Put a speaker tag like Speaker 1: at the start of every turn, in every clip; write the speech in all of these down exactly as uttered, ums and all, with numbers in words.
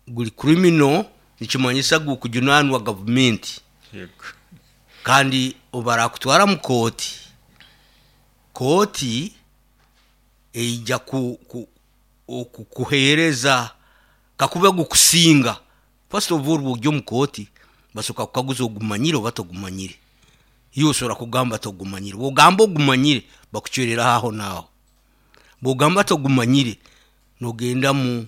Speaker 1: Guri criminal, nikimanyisa gukujunanwa gavumenti.
Speaker 2: Yego.
Speaker 1: Kandi obarakutwara mu kooti, kooti eija ku, ku, okukuheereza kakuba gukusinga. First of all, bw'ojya omu kooti basooka kukaguza ogumanyire oba togumanyire. Iwe osobola kugamba togumanyire, bwogamba ogumanyire bakucwereraho aho naaho. Bwogamba togumanyire nogenda mu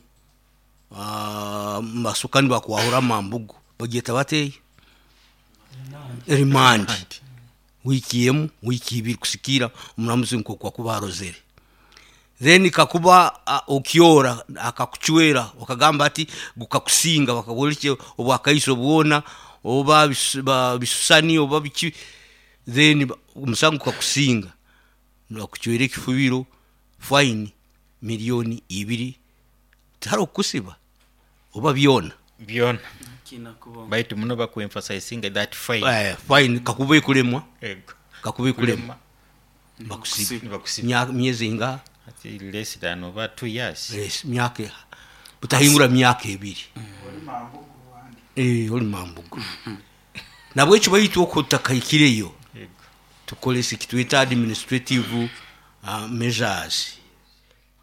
Speaker 1: ah, basooka nibakwahura amambugu, bagyeta bata eyo? Remand. Wiiki emu, wiiki ibiri, kusikiira omuramuzi nk'oku akuba arozere. Then kakuba uh, okyora akakucwera okagamba ati gukakusinga, bakakuha obwakaiso bwona oba bisu- ba- bisusani oba biki, then ba- omusango gukakusinga, nibakucwera ekifubiro, fine miliyoni ibiri, tihariho kukusiba oba byona.
Speaker 2: Byona.
Speaker 3: Kiina kubaho.
Speaker 2: Baitu muno bakwemphasizinga that fine.
Speaker 1: Eh, fine kakuba ekuremwa.
Speaker 2: Ego.
Speaker 1: Kakuba ekuremwa
Speaker 2: Kulema.
Speaker 1: bakusiba.
Speaker 2: Nibakusiba.
Speaker 1: Mya- myezi ingaha?
Speaker 2: Ati less than oba two years.
Speaker 1: Yes, myaka butahingura myaka ebiri. Eh, oli mambugu. Nabwekyo baitu okwo tutakahikireyo,
Speaker 2: Yego.
Speaker 1: tukoresa ekitweta administrative uh, measures,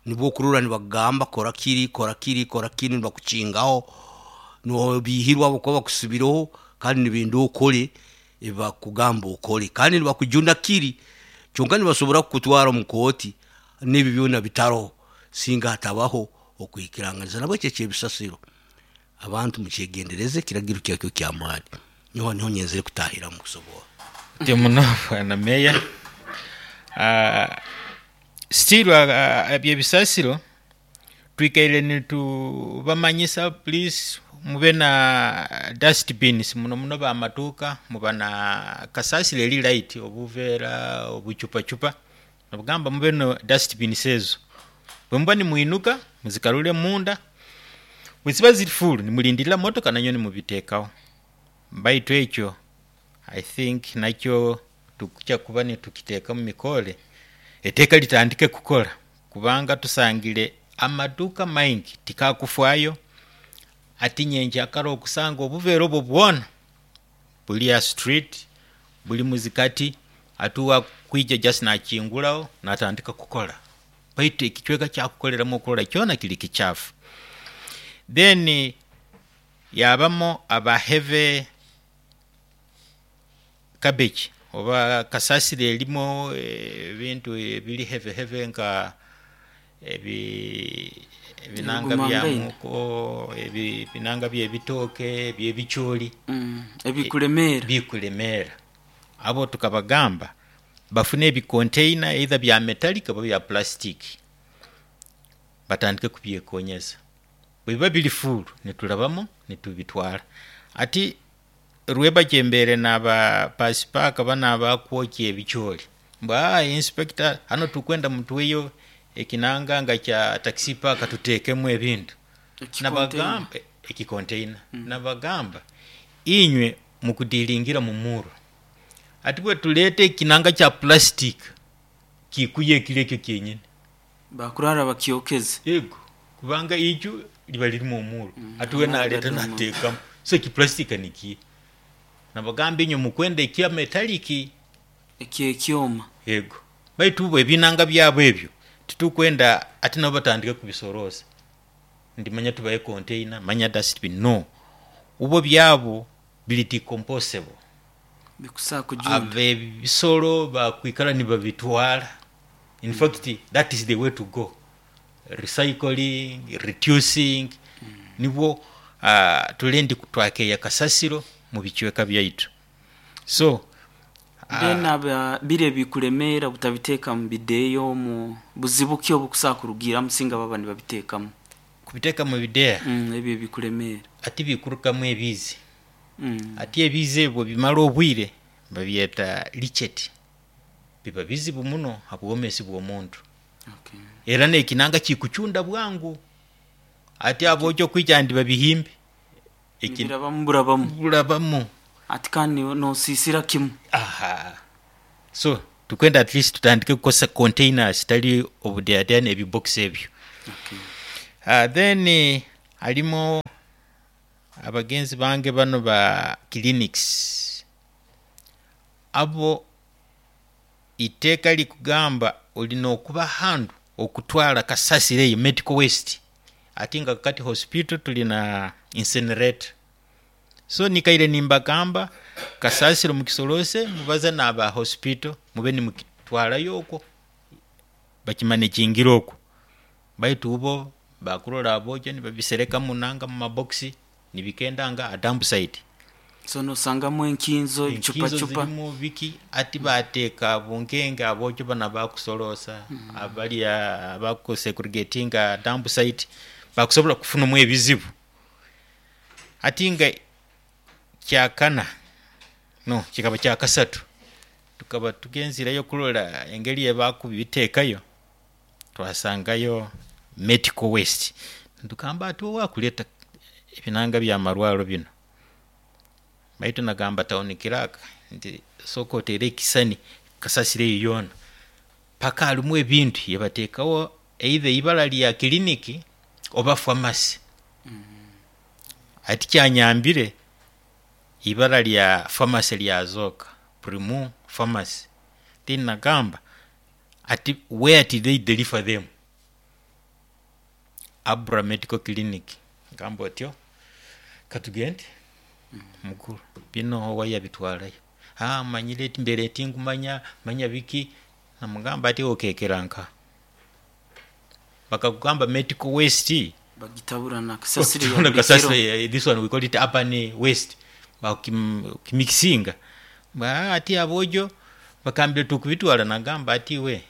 Speaker 1: nibwo okurora nibakugamba kora kiri, kora kiri, kora kiri, nibakukingaho nobihirwa ahabwokuba bakusibireho kandi nibenda okore ebibakugamba okore, kandi nibakujuna kiri kyonka nibasobora kukutwara omu kooti n'ebi byona bitaroho singa hatabaho okwikiranganiza. Nabwekyo ekyebisasiro, abantu mukyegendereze, ekiragiro kyakyo kyamaani. Niho niho nyenzere kutahiramu kusobora.
Speaker 2: Ti muno, bwana meya. Uh, still uh, ebyebisasiro twikaire nitubamanyisa, please mube na dustbins, muno muno bamatuuka muba na kasasiro eri light, obuveera, obucupacupa, nabugamba mube no dustbins ezo. Bwe muba nimwinuka muzikarure munda, bwe ziba ziri full nimulindirira motoka nanyo nimubiteekaho. Baitu ekyo I think nakyo tukujja kuba nitukiteeka mu mikore, eteeka litandike kukora, kubanga tusangire amaduuka maingi tikakufaayo. Ati nyenkyakara okusanga obuveera obwo bwona buli aha street, buli muzikati, ati wakwija just nakinguraho natandika kukora, baitu ekicweka kyakukoreramu okurora kyona kiri kikyafu. Then yabamu aba heavy garbage oba kasasiro erimu ebintu ebiri heavy heavy nka ebi ebinanga bya
Speaker 3: Ebigumangaine.
Speaker 2: muko, ebi- ebinanga by'ebitooke, eby'ebicooli.
Speaker 3: Mm, ebikulemeera.
Speaker 2: Bikulemeera. Abo tukabagamba bafune ebicontainer either bya metallic oba bya plastic, batandike kubyekonyeza. Bwebiba biri full niturabamu nitubitwara. Ati rwebagyo embere naba pasipaaka bano abakwokya ebicooli, mbwa inspector, hano tukwenda mutuweyo ekinanga nga kya taxi park tuteekemu ebintu.
Speaker 3: Ekicontainer.
Speaker 2: Nabagamba ekicontainer, nabagamba inywe mukudiringira mumuro, ati bwe tuleeta ekinanga kya plastic kikuya ekiro ekyo kyenyini.
Speaker 3: Bakurara bakyokeze.
Speaker 2: Ego, kubanga iju liba lirimu omuro, ati we
Speaker 3: amara
Speaker 2: naleeta
Speaker 3: gadoma.
Speaker 2: nateekamu, so ekiplastic nikiye. Nabagamba inywe mukwenda ekya metallic.
Speaker 3: Ekyekyoma.
Speaker 2: Ego, baitu bo ebinanga byabo ebyo titukwenda ati nabo batandike kubisoroza, ndimanya tubaye container, manya dustbin. No, ubo byabo biri decomposable.
Speaker 3: Bikusaa kujunda.
Speaker 2: Abebisolo bakwikara nibabitwara. In fact, that is the way to go, recycling, reducing, nibwo uh, tulendi kutwakeya kasasiro mu bicweka byaitu. So
Speaker 3: Then aba biri ebikulemeera butabiteeka mu bideeyo, mu buzibu ki obukusaa kurugiiramu singa baba nibabiteekamu?
Speaker 2: Kubiteeka mu bideya?
Speaker 3: Mm, ebyo ebikulemeera.
Speaker 2: Ati bikurukamu ebiizi.
Speaker 3: Mm.
Speaker 2: Ati ebiizi ebyo bimara obwire babyeta leachate, biba bizibu muno ha bwomesi bw'omuntu.
Speaker 3: Okay.
Speaker 2: Era n'ekinanga kikucunda bwangu, ati aboojo kwija ndi babihimbe. Eki-
Speaker 3: Nibirabamu burabamu.
Speaker 2: Burabamu.
Speaker 3: Ati kandi nosiisira kimu.
Speaker 2: Aha, so tukwenda at least tutandike kukozesa containers, tali obudeyadeya n'ebibox ebyo.
Speaker 3: Okay.
Speaker 2: Uh, then eh, harimo Abagenzi bange bano ba clinics abo, iteeka likugamba olina okuba handu okutwala kasasiro eyo medical waste, ate nga kati hospital tulina incinerator. So nikaire nimbagamba, kasasiro mukisolose, mubaze n'aba hospital, mube nimukitwarayo okwo, bakimanejingire okwo. Baitu ubo bakurora abojo nibabisereka munanga mu mabokisi, nibikendanga a dump site.
Speaker 3: So nosangamu enkinzo,
Speaker 2: enkizo
Speaker 3: ebicupacupa.
Speaker 2: Zirimu biki, ati bateeka bunkenge abojo bana bakusolosa, abali abakusegregatinga dump site bakusobola kufunamu ebizibu. Ati nga kyakana no kikaba kyakasatu, tukaba tugenzireyo kulola engeri yebakubiteekayo, twasangayo medical waste. Nitugamba ati owakuleta ebinanga byamarwaro bino, baitu nagamba town clerk nti sooka otere ekisani kasasiro eyo yoona, paka harimu ebintu yebateekaho either eibara lya kiriniki oba pharmacy. Ati kyanyambire, ibara lya pharmacy lyazooka, Primu Pharmacy. Then nagamba ati where did they deliver them? Abra Medical Clinic. Gamba otyo, katugende mukuru bino owayabitwarayo, ah, manyire eti mbere tingumanya manya biki. Namugamba ati okekera nka bakakugamba medical waste.
Speaker 3: Bagitabura na kasasiro ya
Speaker 2: na
Speaker 3: buli
Speaker 2: kasasiro
Speaker 3: kiro.
Speaker 2: eh, this one we call it urban waste, bakimikisinga ba ati abojo bakambire tukubitwara. Nagamba ati we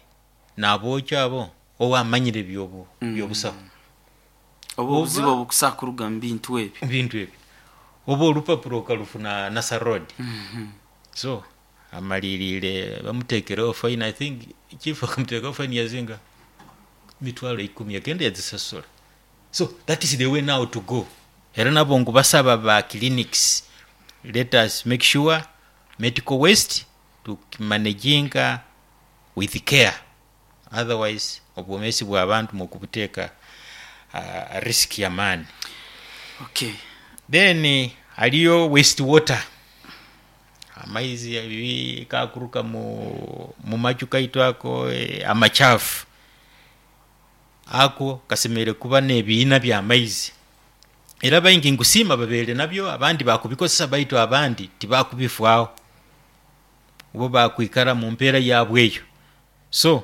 Speaker 2: nabojo abo owamanyire byobu
Speaker 3: Mm.
Speaker 2: byobusaho.
Speaker 3: Oba obuzibu obukusakuruga mu bintu ebyo.
Speaker 2: Bintu ebyo oba olupapuro okalufuna Nasarod.
Speaker 3: Mhm.
Speaker 2: So amalirire bamutekereho fine. I think chief akamuteekaho fine yazinga mitwalo ikumi, agenda yazisasula. So that is the way now to go. Era nabo ngu basaba ba clinics, let us make sure medical waste tukimanaginga with care, otherwise obwomesi bw'abantu mukubuteeka uh, risk yamaani.
Speaker 3: Okay.
Speaker 2: Then haliyo waste water, amaizi ebi kakuruka mu, mu maju kaitu ako, eh, amachafu ako kasemere kuba n'ebiina by'amaizi. Era baingi nkusiima babeere nabyo, abandi bakubikozesa, baitu abandi tibakubifwaho, bo bakwikara mu mpeera yabwe eyo. So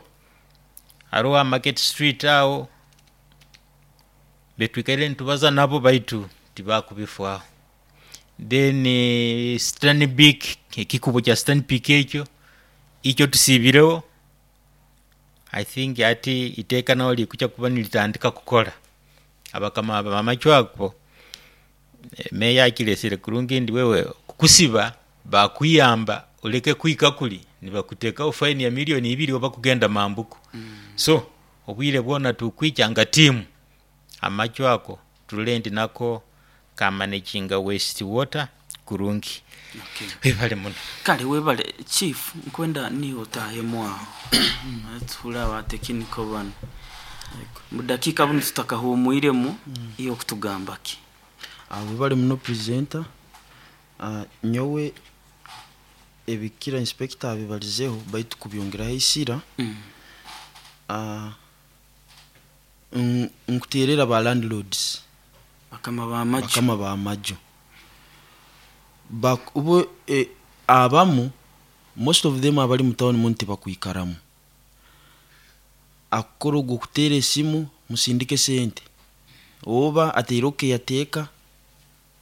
Speaker 2: hariho Market Street aho betwikaire nitubaza nabo, baitu tibakubifwaho. Then eh, Stanbic, ekikubo kya Stanbic ekyo ikyo tusiibireho. I think ati iteeka naho likucha kuba nilitandika kukora abakama bamachwa ako. eh, meya akilesere kurungi ndi wewe kukusiba bakuyamba oleke kwika kuli nibakuteekaho fine ya milioni ibiri oba kugenda mambuku. mm. So obwire bwona tukwichanga tiimu amachwa ako tulole ndi nako kamanaginga waste water kurungi.
Speaker 3: Okay.
Speaker 2: Webale muno.
Speaker 3: Kale webale chief, nkwenda niwe otahemu aho tuhura abatekiniko bano mu dakiika buno tutakahumwiremu, iyo kutugamba ki?
Speaker 4: Ah, webale muno presenter. Ah, nyowe ebikira inspector abibalizeho, baitu kubyongeraho isira.
Speaker 3: Mm.
Speaker 4: Ah, n- nkuterera ba landlords,
Speaker 3: bakama b'amaju.
Speaker 4: Bakama bamajo. Bak- ubo eh, abamu, most of them abali mu town muno tibakwikaramu. Akukora ogwo kuteera esimu, musindike sente, oba ateireho caretaker,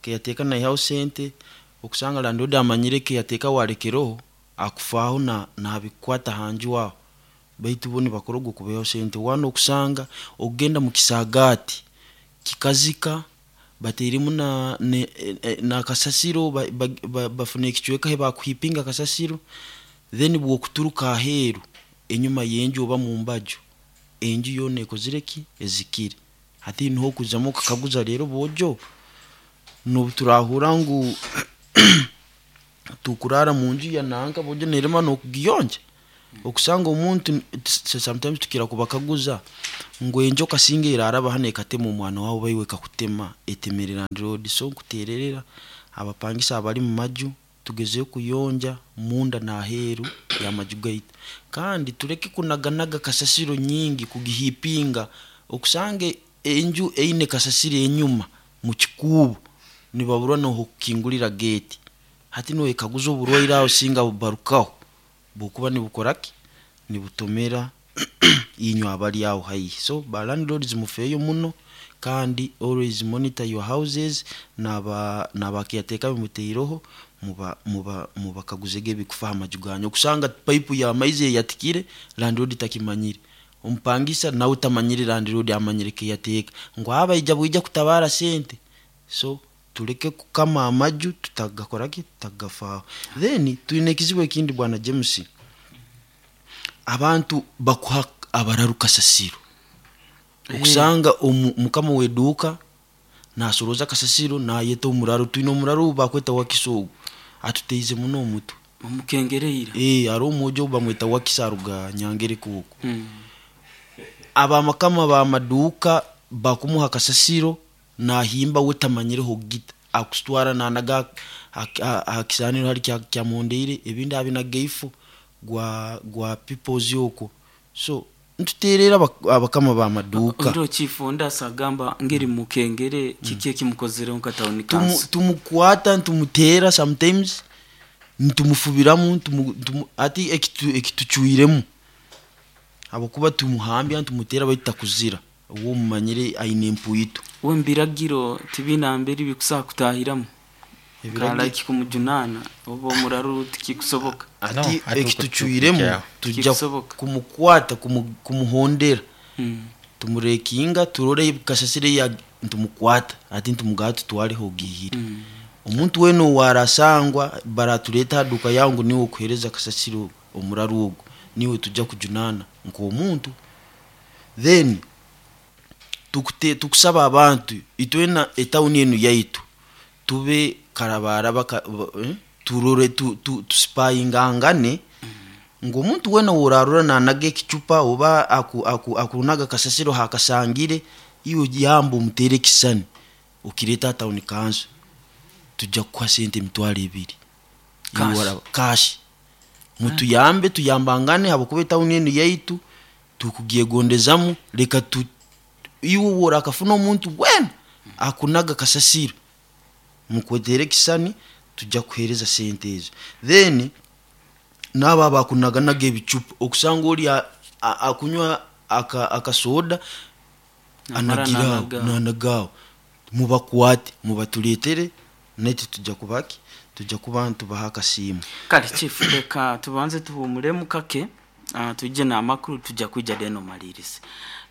Speaker 4: caretaker naihaho sente. Okusanga landlord amanyire caretaker warekereho akufaho na nabikwata hanju aho, baitu bo nibakora ogwo kubeho sente. Wana okusanga okugenda mu kisagaati kikazika, bateiremu na, ne, eh, na kasasiro, bafuna ba, ba, bafuna ekicweka he bakuhipinga kasasiro. Then bwokuturuka aheeru enyuma y'enju oba mu mbaju, enju yoona ekozire ki? Ezikire. Hati niho okuzamu okakaguza rero bojo, nobu turahura ngu tukurara mu nju ya nanka, bojo nerema nokugiyonja. Okusanga omuntu sometimes tukira kubakaguza ngu enjoka singa eraraba hano ekatema omwana wawe baiwe kakutema etemere landlord. So nkutererera abapangisa abali mu maju tugezeyo kuyonja munda n'aheeru y'amaju gaitu, kandi tureke kunaganaga kasasiro nyingi kugihipinga. Okusange enju eine kasasiro enyuma mu kikuubo nibaburwa n'okukingurira gate, hati niwekaguza oburwaire aho singa bubarukaho bukuba nibukoraki nibutomera inywe abali aho haihi. So ba landlords mufeeyo muno, kandi always monitor your houses, naba naba caretaker bimuteireho muba muba mubakaguzege ebikufa aha maju ganyu. Okusanga pipe ya maizi eyatikire landlord takimanyire, omupangisa nawe tamanyire, landlord amanyire caretaker ngu abaija bwija kutabara sente. So tuleke kukama amaju tutagakoraki tutagafaho. Then twine ekizibu ekindi bwana James, abantu bakuha abararu kasasiro. Okusanga mukama w'eduuka nasoroza kasasiro nayeta omuraro. Twine omuraro bakweta Wakiso, ogu atuteize muno omutwe
Speaker 3: omukengereira.
Speaker 4: Eh, hariho omwojo bamweta Wakiso aruga Nyangere kuoko. Abamakama b'amaduuka bakumuha kasasiro nahimba we tamanyireho gita akusitwara nanaga aha kisaaniro hari kyamuhondeire, ebindi abinaga eifo gwa gwa peoples okwo. So ntuteerera abakama b'amaduuka.
Speaker 3: Ndo chief ndasa agamba ngeri mukengere kiki ekimukozereho nka town council?
Speaker 4: Tumukwata ntumuteera sometimes ntumufubiramu ati ekitucwiremu habwokuba tumuhambya ntumuteera baitu takuzira uwo mumanyire aine empuitu.
Speaker 3: We mbiragiro tibinambere bikusa kutahiramu kalaki kumujunana oba omuraru tikikusoboka.
Speaker 4: Ati ekitucwiremu tujja kumukwata kumuhondera tumurekinga turore kasasire ya ntumukwata ati ntumugaa tutwareho gihire. Omuntu wena owarasangwa baratuleta duka yangu niwe okuhereza kasasiro omuraru ogwo niwe tujja kujunana nk'omuntu. Then tukute tukusaba abantu itwena etawuni enu yaitu tube karabaraba eh? Turore tu, tu, tusipayingangane ngo omuntu wena worarura nanaga ekicupa oba aku, aku, akunaga kasasiro hakasangire iwe yamba omutere ekisani okireta town council tujja kukuha sente emitwaro ebiri cash. Mutuyambe tuyambangane habwokuba etawuni enu yaitu tukugyegondezamu. Leka tu iwe worakafuna omuntu wena akunaga kasasiro mukwetere ekisani tujja kuhereza sente ezo. Then naba abakunaganaga ebicupa okusanga oli akunywa akasoda anagiraho nanagaho, mubakwate mubatuletere naitwe tujja kubaki tujja kuba ntubaha akasiimu.
Speaker 3: Kale chief leka tubanze tuhumuremu kake uh, tujje n'amakuru tujja kwijja deno malirize.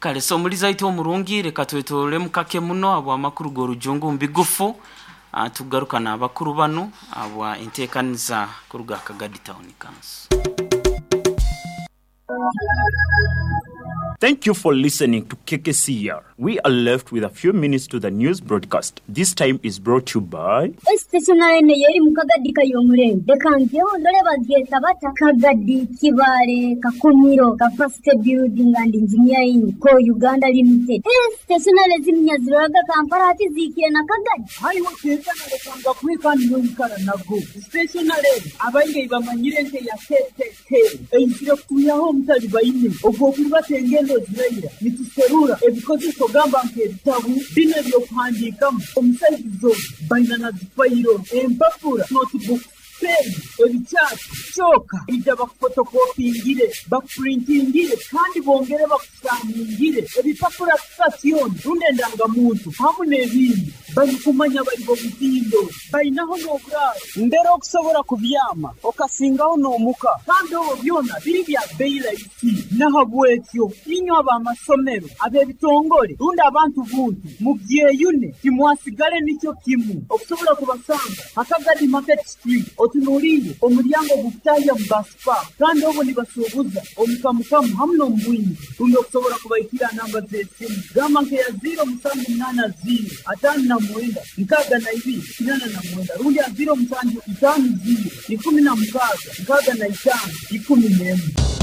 Speaker 3: Kale so muliza itu omurungi leka twetolemu kake muno abo amakuru g'orujungu mbigufu uh, tugaruka n'abakuru bano abwa enteekaniza kuruga Kagadi Town Council.
Speaker 5: Thank you for listening to K K C R. We are left with a few minutes to the news broadcast. This time is brought to you by
Speaker 6: Stationary yeri mu Kagadi kayomurembe. Reka ndore bagyeta bata Kagadi Kibare Kakumiro Capacity Building and Engineering Co Uganda Limited. Stationary zimnyaziraga Kampala ati zikire na Kagadi.
Speaker 7: Hariho stationary kanga kwikani n'omukara nago. Stationary abaingi bamanyire nte ya K K K. Einzire kuyaho omutali baine. Ogwo kubatenge ziraira nituserura ebikozeso gamba nk'ebitabu bino ebyokuhandiikamu omusaizi baina na zifayiro empapura notebook pen ebikyapa kyoka ija bakufotokopingire bakupurintingire kandi bongere bakusaningire ebipapura sitasioni rundi endangamuntu hamu n'ebindi barikumanya bari bo bainaho n'oburaro ndero okusobola kubyama okasingaho n'omuka kandi obwo byona biri bya beyi rahisi. Nahabwekyo inywe ab'amasomero ab'ebitongole rundi abantu buntu mubyeyune timwasigale nikyo kimu okusobola kubasanga Akagadi Market Street otunuulire omulyango gukutahya mu baspa kandi obwo nibasuubuza omukamukamu hamu n'omubwingi rundi okusobola kubaikira namba z'esimu gamba nkeya ziro musanju munaana ziro ataano na mwenda nkaaga na ibiri kinana na mwenda rundi ya ziro musanju itaano ziro ikumi na mukaaga nkaaga na itaano ikumi n'emwe.